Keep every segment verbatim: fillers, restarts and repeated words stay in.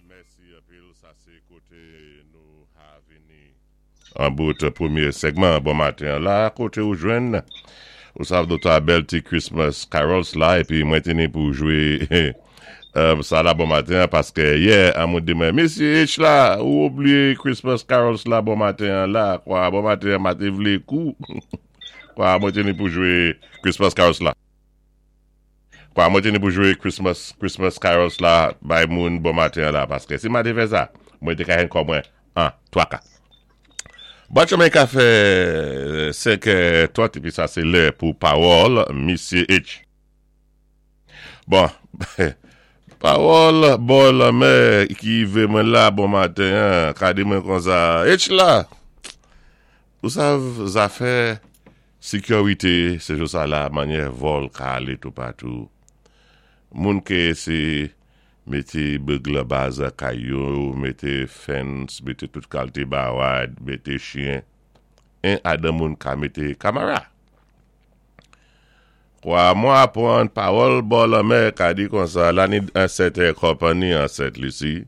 Mèsi anpil. Sa sé koté nou ka vini an bout pwémyé segman bon maten la, koté ou jwenn ou sav dota bèl ti Christmas carols la, épi mwen té ni pou jwé euh, sa la bon maten paské yè an moun di mwen: "Misyé H la, ou oubliyé Christmas carols la bon maten la kwa." Bon maten ma té vlé kou kwa mwen té ni pou jwé Christmas carols la. Kwa mwen té ni pou jwé Christmas Christmas carols la bay moun bon maten la, paské si ma té fè sa, mwen té ka hen kon mwen en twa ka. Bon, chemen ka fè senk trant, épi sa sé lè pou pawòl Misyé H. Bon, pawòl bò lanmè ki vé mwen la bon maten, ka di mwen kon sa: "H la, ou sav zafè sékirité, sé jou sa la, manyè vòl ka alé toupatou. Moun ké sé mété burglar bars kay yo, mété fence, mété tout kalité bawad, mété chyen. En adan moun ka mété kamera. Kwa mwen apwann pawòl bò lanmè ka di kon sa, la ni an sèten konpanni an Sent Lisi,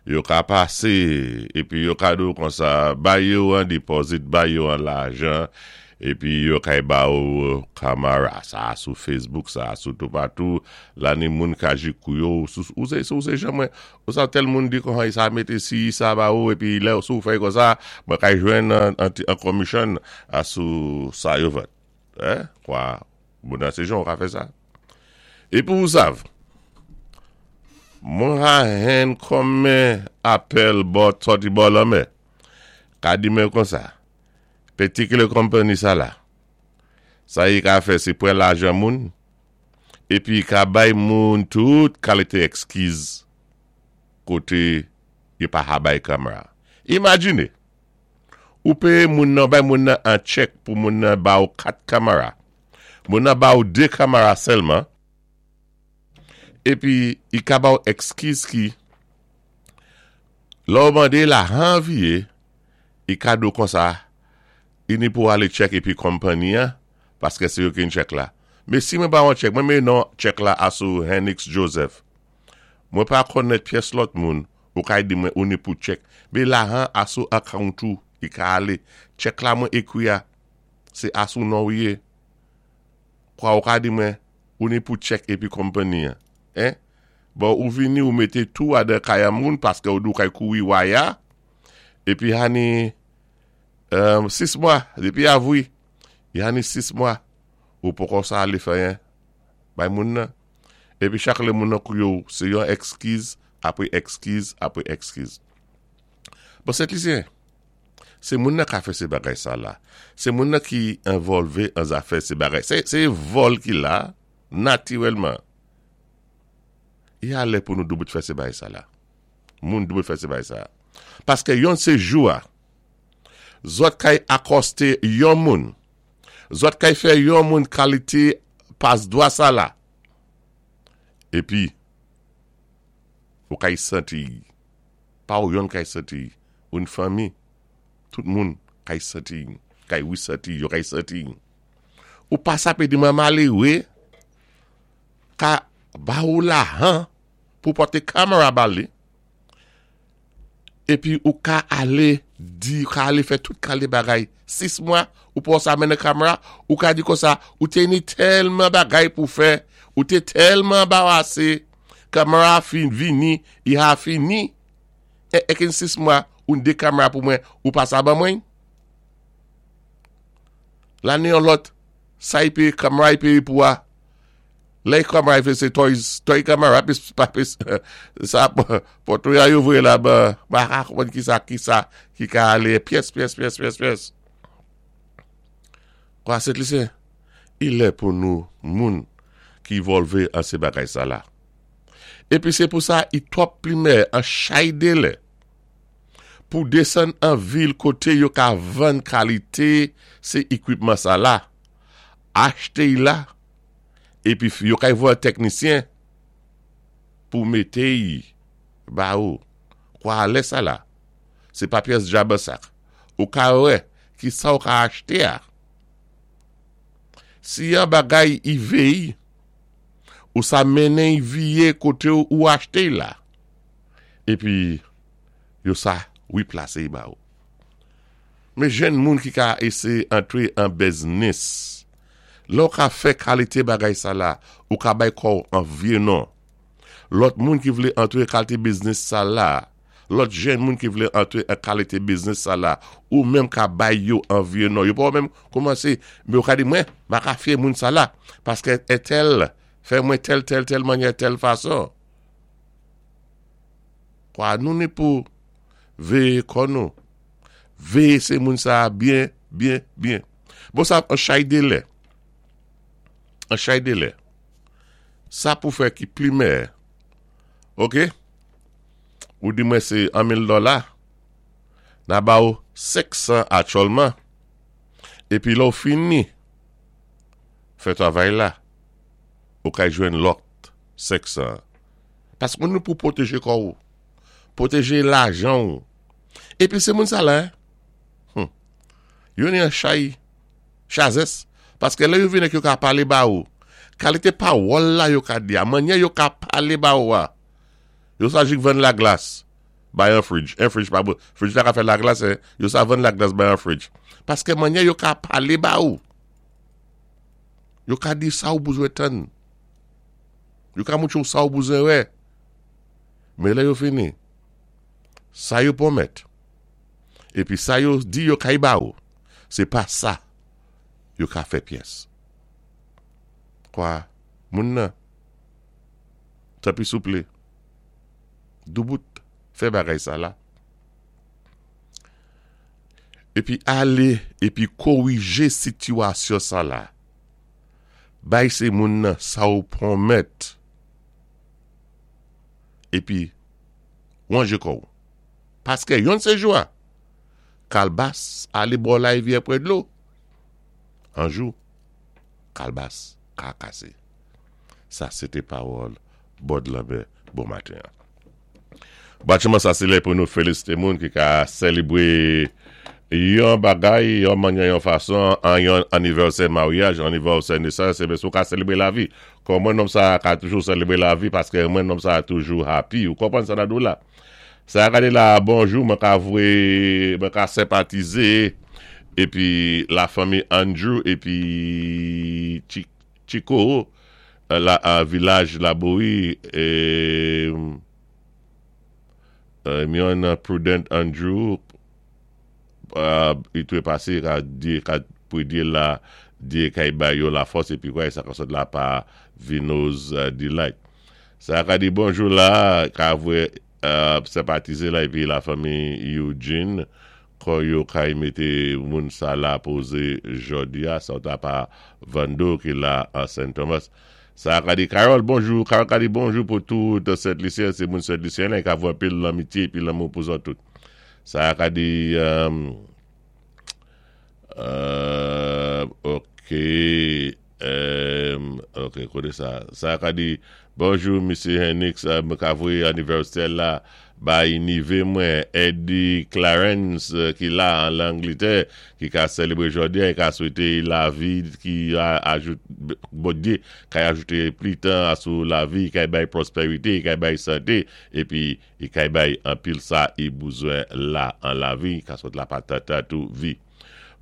yo ka pasé, épi yo ka di ou kon sa, bay yo an deposit, bay yo an lajan, épi yo kay ba ou kamera." Sa sou Facebook, sa sou toupatou, la ni moun ka jikou yo, ou sé, ou sé jan mwen, ou sa tèl moun di kon sa mété si, sa ba ou, épi lè ou sou fè kon sa, mwen kay jwenn an, an, an commission a sou sa yo vet. Eh? Kwa, moun nan sé jan ou ka fè sa. Épi ou sav, mwen ha hen konmen apèl bò, sòti bò lanmè, ka di mwen kon sa, particular company sa la, sa yi ka fè sé pran lajan moun, épi ka bay moun tout kalité èkskiz koté yo pa ha bay kamera. Imajiné, ou péyé moun nan, bay moun nan an chèk pou moun nan ba ou kat kamera. Moun nan ba ou dé kamera sèlman, épi i ka ba ou èkskiz ki, lò ou mandé lajan vyé, i ka di ou kon sa, i ni pou alé check épi konpanni an, paské sé yo ki chèk la. Mé si mwen ba an chèk, mwen mé non chèk la asou Henix Joseph. Mwen pa konnèt pyès lòt moun, ou ka di mwen ou ni pou check. Mé lajan asou account ou, i ka alé. Chèk la mwen ékwi a, sé asou non ou yé. Kwa ou ka di mwen, ou ni pou check épi konpanni an. Eh? Bon, ou vini ou mété tou adan kay moun, paské ou di ou kay kouri waya, épi hani, um, sis mwa, dépi avwi, yani sis mwa, ou poko sa alé fè yen, bay moun nan. Épi chak lè moun nan kou yo, sé yon èkskiz, apwé èkskiz, apwé èkskiz. Bon, Sent Lisyen, sé moun nan ka fè sé bagay sa la. Sé moun nan ki envolvé an zafè sé bagay. Sé, sé vòl ki la, natirèlman. I a lè pou nou doubout fè sé bagay sa la. Moun doubout fè sé bagay sa. Paské yon sé jou a, zòt kay akosté yon moun, zòt kay fè yon moun kalité pas dwa sa la. Épi, ou kay santi, pa ou yon kay santi, ou yn fanmi, tout moun kay santi, kay wè santi, yo kay santi. Ou pa sa pé di mwen maléwé, ka ba ou lajan, pou poté kamera ba li, épi ou ka alé di, ou ka alé fè tout kalité bagay, sis mwa, ou pou sa mennen kamera, ou ka di kon sa, ou té ni tèlman bagay pou fè, ou té tèlman anbarasé, kamera fin vini, i ha fini, é, é kin sis mwa, ou dé kamera pou mwen, ou pa sa ban mwen. La ni yon lòt, sa i péyé, kamera i péyé pou a, lè kamera i fè sé toys, toy kamera, pis, pa pis, sa, poto ya yo voyé la ba, ba ha konn ki sa, ki sa, ki ka alé, pyès, pyès, pyès, pyès, pyès. Kwa Sent Lisyen, i lè pou nou, moun, ki envolvé an sé bagay sa la. Épi sé pou sa, i twòp plimè, an chay dé lè, pou désann an vil koté yo ka vann kalité sé ékwipman sa la, achté y la, épi yo kay voyé tèknisyen pou mété y ba ou. Kwa lè sa la, sé pa pyès djab sak. Ou ka wè, ki sa ou ka achté a. Si yon bagay i véy, ou sa mennen y vyé koté ou, ou achté la. Épi yo sa wiplasé ba ou. Mé jenn moun ki ka éséyé antré an biznis. Lè ou ka fè kalité bagay sa la, ou ka bay kò ou an vyé non. Lòt moun ki vlé antré kalité biznis sa la, lòt jenn moun ki vlé antré an kalité biznis sa la, ou menm ka bay yo an vyé non. Yo pa menm kòmansé, mé ou ka di mwen, ma ka fyé moun sa la, paské entèl, fè mwen tèl, tèl, tèl mannyè, tèl fason. Kwa nou ni pou véyé kò nou. Véyé sé moun sa byen, byen, byen. Bon sa, an chay délè. An chay délè. Sa pou fè ki pli meyè. Ok? Ou di mwen sé an mil dola. Na ba ou senk san aktyèlman. Épi lè ou fini. Fè travay la. Ou ka jwenn lòt senk san. Paské nou pou pwotéjé kò ou. Pwotéjé lajan ou. Épi sé moun sa la, hmm. Yo ni an chay, chazès. Paské lè yo vini yo ka palé ba ou. Kalité pawòl la yo ka di a, mannyè yo ka palé ba ou a. Yo sa jik vann laglas. Bay an fridge. En fridge pa bon. Fridge la ka fè laglas, hein. Yo sa vann laglas bay an fridge. Paské mannyè yo ka palé ba ou. Yo ka di sa ou bezwen tann. Yo ka montré ou sa ou bezwen wè. Mé lè yo fini. Sa yo pwomèt. Épi sa yo di yo kay ba ou. Sé pa sa yo ka fè pyès. Kwa, moun nan, tanpwi souplé, doubout, fè bagay sa la. Épi alé, épi kowijé sitiyasyon sa la. Bay sé moun nan sa ou pwomèt. Épi, wanjé kò ou. Paské yon sé jou a, kalbas alé bò larivyè pwè dlo. An jou, kalbas ka kasé. Sa, sé té pawòl Bud Lambert bon maten. Batchman sa sé lè pou nou félisité moun ki ka sélébwé yon bagay, yon mannyè, yon fason, an yon anivèsè maryaj, anivèsè nesans, é sou ka sélébwé lavi. Kòm mwen nonm sa ka toujou sélébwé lavi, paské mwen nonm sa toujou happy. Ou konpwann sa nan la? Sa gade la, bonjou, mwen ka vwé, mwen ka senpatizé, épi la fanmi Andrew, épi Chico, la vilaj Laboui, é, myon Prudent Andrew, i toué pasé, ka di, ka pwédyé la, di kay bay yo la fòs, épi kwa, sa ka sot la pa Vino's Delight. Sa ka di bonjou la, ka vwé, senpatizé la, épi la fanmi Eugene, kon yo kay mété moun sa la pozé jodi a, sa ta pa Vando ki la an Saint Thomas. Sa ka di Carol, bonjou, Carol ka di bonjou pou tout Saint Lucien, sé moun Saint Lucien la, ka vwé anpil lanmitye, épi lanmou pou zòt tout. Sa ka di, um, uh, ok, um, ok, koné sa. Sa ka di, bonjou, Mesye Henix, mwen ka vwé anivèsè la, bay nivé mwen, Eddie Clarence, ki la an Langletè, ki ka sélébwé jodi, e ka swété lavi, ki ajout, Bondyé, ka ajouté pli tan sou lavi, ka bay pwospérité, ka bay santé, épi, i kay bay anpil sa i bezwen la an lavi, ka sot la patata tou vi.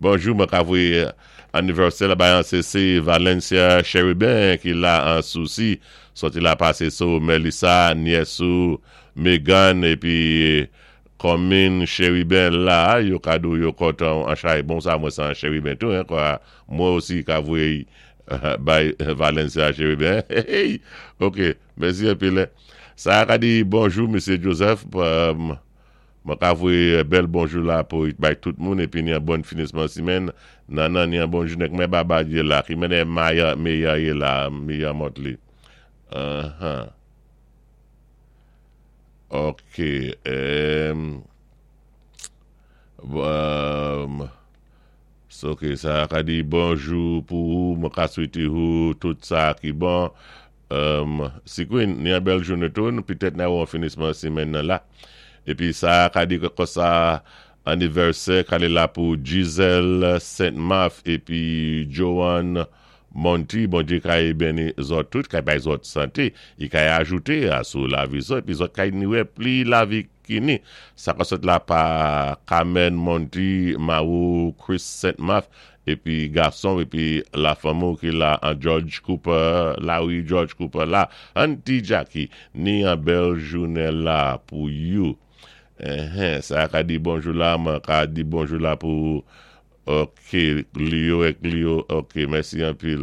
Bonjou, mwen ka vwé anivèsè la bay an C C Valencia Cherubin ki la an Souci, soti la pasé sou Melissa, nyès ou Megan, épi Komin Cherubin la, yo kadou yo kontan an chay, bon sa mwen san Cherubin tou, hein, kwa, mwen osi ka vwé bay Valencia Cherubin. Hey, ok, mèsi anpil. Sa ka di bonjou, Mesye Joseph, mwen ka vwé bèl bonjou la pou bay tout moun, épi ni an bon finisman simèn, nan nan ni an bonjou nek mè baba ye la, ki mènè maya, meya ye la, meya Motley. Uh-huh. Ok, um, um, so, ok, sa ka di bonjou pou ou, mwen ka swété ou tout sa ki bon. Um, si kwen, ni an bèl jounen tou, petèt nan ou an finisman simèn nan la. Épi sa ka di kon sa anivèsè kale la pou Giselle Saint-Marc épi Joanne Monty, Bondyé kay béni zòt tout, kay bay zòt santé, i kay ajouté asou lavi zòt, épi zòt kay ni wè pli lavi ki ni. Sa ka sot la pa Carmen Monty, Marou, Chris Saint Marth, épi gason, épi la fanmi ki la an George Cooper, Larry George Cooper la, Auntie Jackie, ni an bèl jounen la pou you. Eh, sa ka di bonjou la, mwen ka di bonjou la pou Ok, Leo ek Leo, ok, mèsi anpil.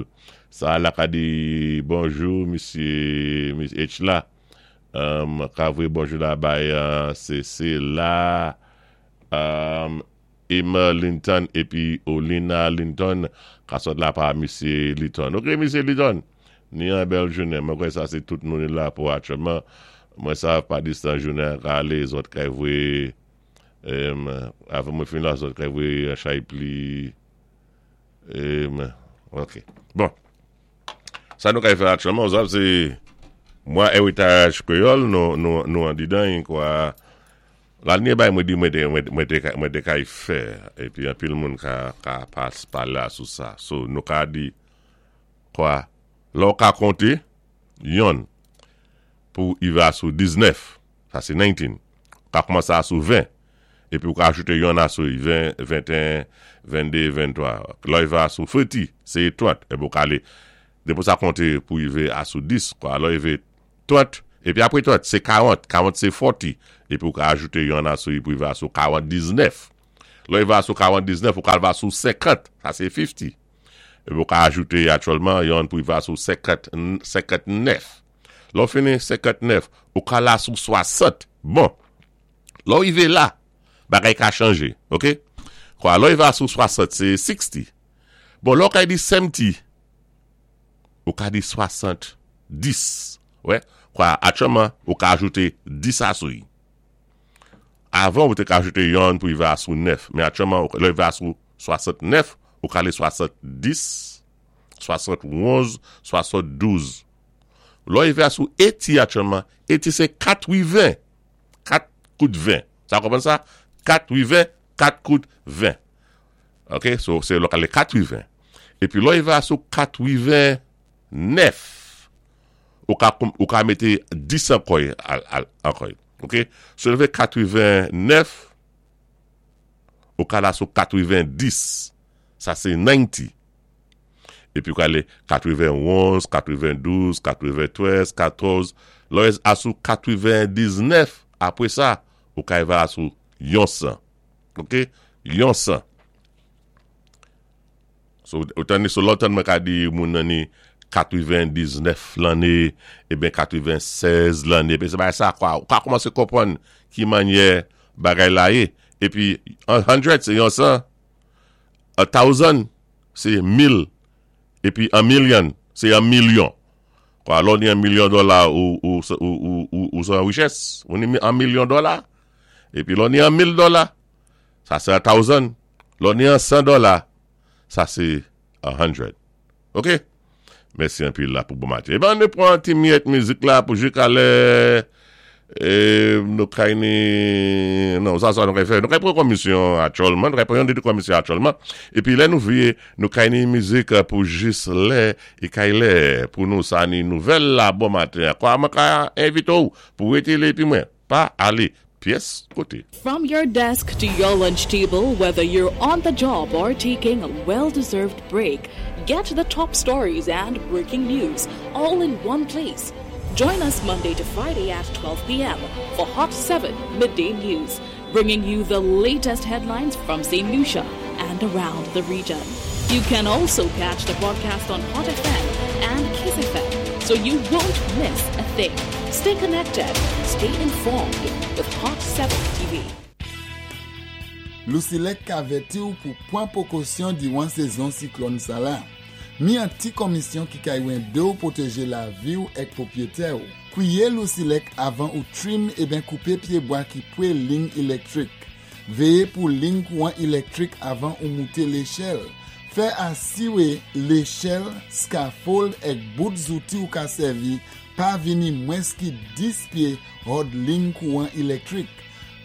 Sa la ka di bonjou, misye, misye H la. Um, ka vwe bonjou la bay uh, C C la. Um, Emma Linton épi Olina Linton ka sot la pa misye Linton. Ok, misye Linton, ni an bèl jounen. Mwen kwè sa sé tout moun la pou aktyèlman. Mwen sa pa distan jounen ka alé, zòt kay vwe um, avan mwen fin la, zòt kay vwe chay pli. Um, ok, bon. Sa nou kay fè aktyèlman, zòt sé mwa Eritaj Kwéyòl, nou, nou, nou an didan, kwa. La nye bay mwen di mwen te, mwen te, mwen te kay fè, épi anpil moun ka, ka pas pala sou sa. So, nou ka di, kwa, lò ka konté, yonn, pou i va sou diznèf, sa sé diznèf, ka koumansé a sou ven, épi ou ka ajouté yonn a sou ven, venteyen, venndé, venntwa. Lò i va sou trant, sé trant, épi ou ka alé, dépou sa konté pou i vé a sou dis, kwa, lò i vé trant, épi apwé trant, sé karant, karant sé forty, épi ou ka ajoute yon a sou pou i va sou karant-diznèf. Lò i va sou karant-diznèf, ou ka va sou senkant, sa sé fifty. Épi ou ka ajoute aktyèlman yon pou i va sou senkant, senkant-nèf. Lò fini senkant-nèf, ou ka la sou swasant. Bon, lò i vé la, bagay ka chanjé, ok? Kwa, lò i va sou swasant, sé sixty. Bon, lò ka di seventy, ou ka di swasant dis. Wè, kwa, aktyèlman, ou ka ajoute dis a sou yi. Avan, ou te ka ajoute yon pou i va sou nèf. Men aktyèlman, lò i va sou swasant-nèf, ou ka ale swasant-dis, swasant-onz, swasant-douz. Lò i va sou eighty aktyèlman, eighty sé katwiven. Kat kout ven. Sa konpwann sa? Katwiven, kat kout ven. Ok, so sé lò ka ale katwiven. Épi lò i va sou katwiven-nèf, ou ka, ou ka mété dis ankò, ankò. Ok, so lè katwiven-nèf, ou ka la sou katwiven-dis, sa sé ninety. Épi ou ka alé katwiven-onz, katwiven-douz, katwiven-trèz, katòz, lò a sou katwiven-diznèf, apwé sa, ou ka va sou yon san. Ok, yon san. So, ou tanni sou lòtan mwen ka di moun nan ni katwiven-diznèf lanné, eben katwiven-sèz lanné, épi sé bagay sa kwa, ou ka koumansé konpwann ki mannyè bagay la yé. Épi, hundred sé yon san, a thousand sé mil, épi a million sé yon milyon. Kwa, lò ni yon milyon dola ou, ou, ou, ou, ou, ou san richès, ou ni yon milyon dola, épi lò ni yon mil dola, sa sé a thousand, lò ni yon san dola, sa sé a hundred. Ok? Mèsi anpil la pou bon maten. Eh ben, nou pran ti myèt mizik la pou jis alè e nou kay ni non, sa sa nou kay fè. Nou kay pran komisyon aktyèlman, nou kay pran yon de komisyon aktyèlman. Épi lè nou vye, nou kay ni mizik pou jis lè e kay lè pou nou sa ni nouvèl la bon maten. Kwa mwen ka envité ou pou rété la épi mwen pa alé pyès koté. From your desk to your lunch table, whether you're on the job or taking a well deserved break, get the top stories and breaking news all in one place. Join us Monday to Friday at twelve p m for Hot seven Midday News, bringing you the latest headlines from Saint Lucia and around the region. You can also catch the broadcast on Hot F M and Kiss F M, so you won't miss a thing. Stay connected, stay informed with Hot seven T V. Lusilek ka avèti ou pou pwan pwékosyon diwan sézon siklòn sa la. Mi an ti komisyon ki kay wende ou pwotéjé lavi ou ek pwopwété ou. Kwiyé Lusilek avan ou trim eben koupé pyébwa ki pwé ling élektrik. Véyé pou ling kouwan élektrik avan ou mouté léchèl. Fè asiwé léchèl, scaffold ek bout zouti ou ka sèvi pa vini mwens ki dis pyé hòd ling kouwan élektrik.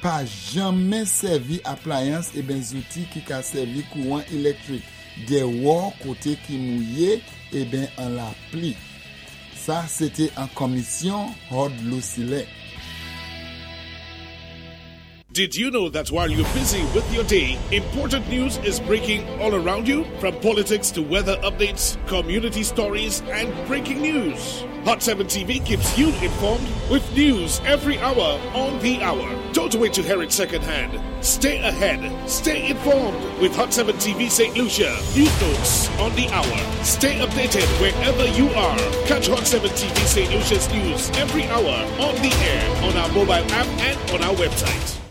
Pa janmen sèvi aplayans eben zouti ki ka sèvi kouwan élektrik dèwò koté ki mouye. ében an lapli. Sa, sé té an Komisyon Hòd LouSilèk. Did you know that while you're busy with your day, important news is breaking all around you? From politics to weather updates, community stories, and breaking news. Hot seven T V keeps you informed with news every hour on the hour. Don't wait to hear it secondhand. Stay ahead. Stay informed with Hot seven T V Saint Lucia. News notes on the hour. Stay updated wherever you are. Catch Hot seven T V Saint Lucia's news every hour on the air, on our mobile app, and on our website.